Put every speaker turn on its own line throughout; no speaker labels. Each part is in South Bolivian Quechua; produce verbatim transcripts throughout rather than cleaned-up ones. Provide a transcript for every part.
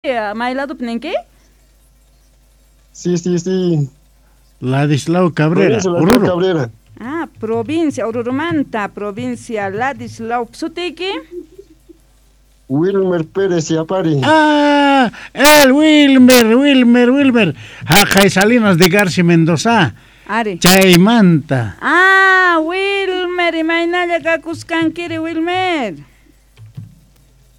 May ladopi ninki?
Sí, sí, sí.
Ladislao Cabrera,
Provincia Ladislao
Oruro.
Cabrera.
Ah, provincia Orurumanta, provincia Ladislao. Sutiyki?
Wilmer Pérez Yapari.
Ah, el Wilmer, Wilmer, Wilmer. Jaqay Salinas de Garci Mendoza.
Ari.
Chaymanta.
Ah, Wilmer, imaynalla kakusqankiri Wilmer.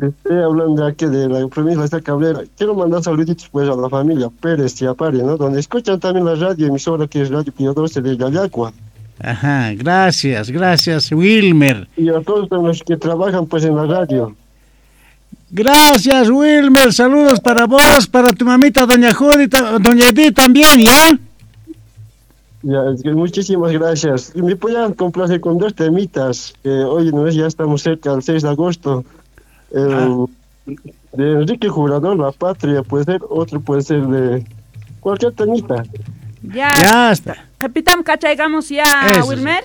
Estoy hablando aquí de la provincia de Cabrera. Quiero mandar saluditos pues a la familia Pérez Yapari, ¿no? Donde escuchan también la radio emisora que es Radio Pío doce de Yayacua.
Ajá, gracias, gracias, Wilmer.
Y a todos los que trabajan pues en la radio.
Gracias, Wilmer. Saludos para vos, para tu mamita, doña Judith, doña Edith también, ¿ya?
Ya, es que muchísimas gracias. Me podían complacer con dos temitas, que hoy no es, ya estamos cerca del seis de agosto. El,
Ah.
De Enrique Jurado, La Patria, puede ser, otro puede ser de cualquier temita.
Ya.
Ya está.
Repitam kachaygamos ya,
Eso sí.
Wilmer.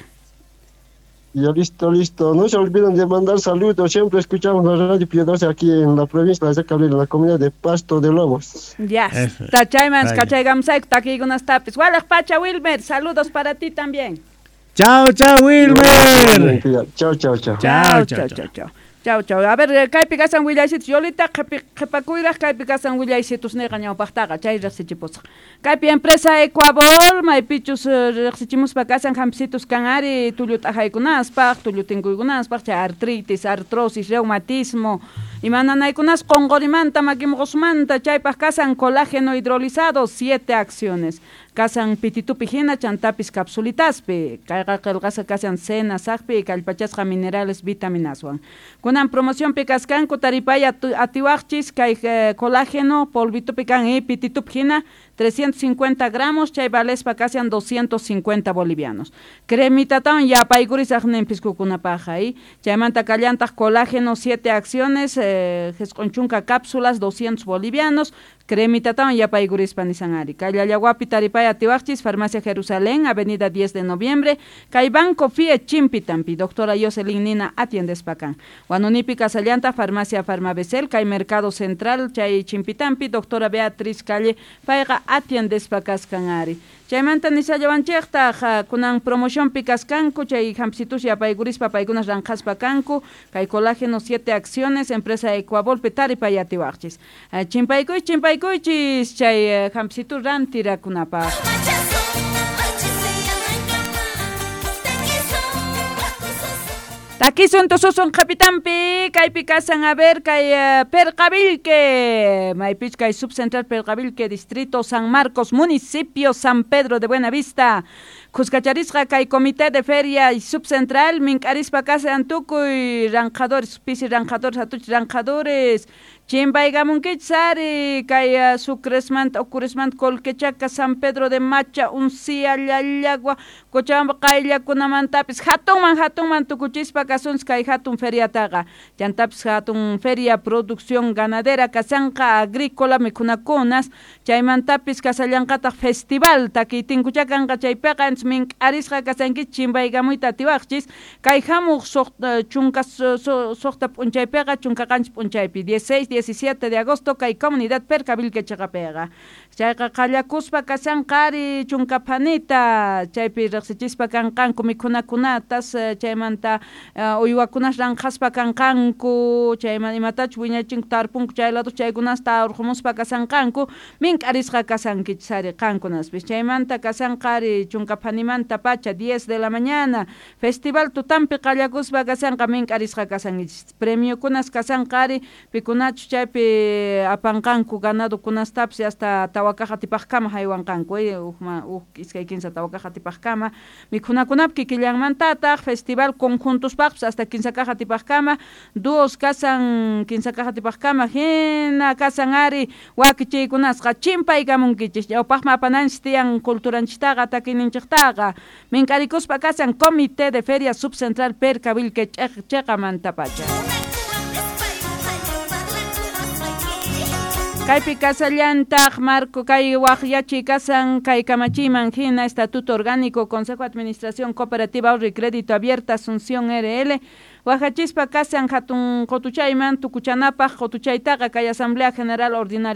Ya listo, listo. No se olviden de mandar saludos. Siempre escuchamos la radio Pío doce aquí en la provincia de Cabrera, en la comunidad de Pasto de Lobos.
Ya
Eso.
está, chayman,
Vaya.
kachaygamos takiykunastapis. Walaj pacha, Wilmer, saludos para ti también.
Chao, chao, Wilmer.
Chao, chao, chao.
Chao,
Chao,
chao,
chao, chao, chao. Chao, chao. A ver, eh, kaypi kasan willaysitus. Yolita, qhipi- qhipakuyraj kaypi kasan willaysitus niyqa ñawpaqtaqa, chay riqsichipusaq. Kaypi empresa Ecuabol, maypichus eh, riqsichimuspa kasan hampisitus kan ari tullu t'ajaykunaspaq, tullu tinkuykunaspaq, chay artritis, artrosis, reumatismo, imananaykunas qunqurimanta, makimuqusmanta, chaypaq kasan colágeno hidrolizado, siete acciones. Kasan pititupi hina, chantapis capsulitaspi, kayqa qillqasqa kasan cena saqpi, kallpachasqa minerales vitaminaswan. Kunan promocionpi kaskanku taripay atiwaqchis kay eh, colágeno polvitupi kan y pititupi hina trescientos cincuenta gramos, chay valespa kasan doscientos cincuenta bolivianos. Cremitatawan yapaykurisaq nin piskukunapaq ahí. Chaymanta kallantaq colágeno siete acciones, eh, jisq'un chunka cápsulas, doscientos bolivianos. Cremitatawan yapaykurispa nisan ari. Kay Llallawapi taripay atiwaqchis, Farmacia Jerusalén, Avenida diez de Noviembre, kay Banco F I E Chimpitampi, doctora Jocelyn Nina atiendespa kan. Huanunipi kasallanta, Farmacia Farmabesel, kay Mercado Central, chay Chimpitampi, doctora Beatriz Calle, payqa atiendespa kaskan ari. Chaymanta nisallawanchiktaj, kunan promocionpi kaskanku, chay hampisitus yapaykurispa paykunas ranqhaspa kanku, kay colágeno siete acciones, empresa Ecuabolpi taripay atiwaqchis. Chimpaykuychis, chimpaykuychis, chay hampisitu rantirakunapaq. Takisun tususun qhapitampi, kaypi kasan a ver, kay eh, Percavilque, maypich kay Subcentral Percavilque, Distrito San Marcos, Municipio San Pedro de Buenavista. Khuskacharisqa kay Comité de Feria y Subcentral, mink'arispa kasan tukuy ranqadores, pisi ranqadores, atuch ranqadores, chimpaykamunkichis ari, kay uh, Sucresmanta, Ocuresmanta, Colquechaca, San Pedro de Macha, Uncía, Llallagua, Cochabamba, qayllakunamantapis, hatunman, hatunman tukuchispa kasunchis kay hatun feriataqa. Chantapis hatun feria producción ganadera kasanqa agrícola mikhunakunas, chaymantapis kasallanqataq festival takiy tinkucha kanqa chaypiqa, entonces mink'arisqa kasankichis chimpaykamuyta atiwaqchis, kay hamuq suqta chunka suqta p'unchaypiqa, chunka qanchis p'unchaypi, dieciséis, diecisiete de agosto, kay comunidad Percavilque chiqapiqa. Chayqa qallakuspa kasanqa ari chunka phanita, chaypi riqsichispa kanqanku mikhunakunatas, chaymanta uywakunas ranqhaspa kanqanku, chayman imatachus wiñachinku tarpunku chay lado chaykunasta urqumuspa kasanqanku, mink'arisqa kasankichis ari qankunaspis. Chaymanta kasanqa ari chunka phanimanta pacha, diez de la mañana, festival tutampi qallakuspa kasanqa mink'arisqa kasankichis. Premiokunas kasanqa ari pikunachus chaypi apanqanku ganadokunastapis hasta tawa kaq atipaqkama haywanqanku, eh, ujma, uj iskay kinsa tawa kaq atipaqkama, mikhunakunapi kikillanmantataq festival conjuntuspaqpis hasta kinsa kaq atipaqkama, dúos kasan kinsa kaq atipaqkama, hina kasan ari wakichiykunasqa chimpaykamunkichis, ñawpaqman apananchis tiyan culturanchistaqa takiyninchiktaqa, mink'arikuspa kasan Comité de Feria Subcentral Percavilque chiqamantapacha. Kaypi kasallantaq Marco kay waqyachiy kasan kay kamachiyman hina Estatuto Orgánico Consejo de Administración Cooperativa Ahorro y Crédito Abierta Asunción R L Wajachispa kashan hatun qotuchayman tukuchanapaq qotuchaytaqa kay Asamblea General Ordinaria.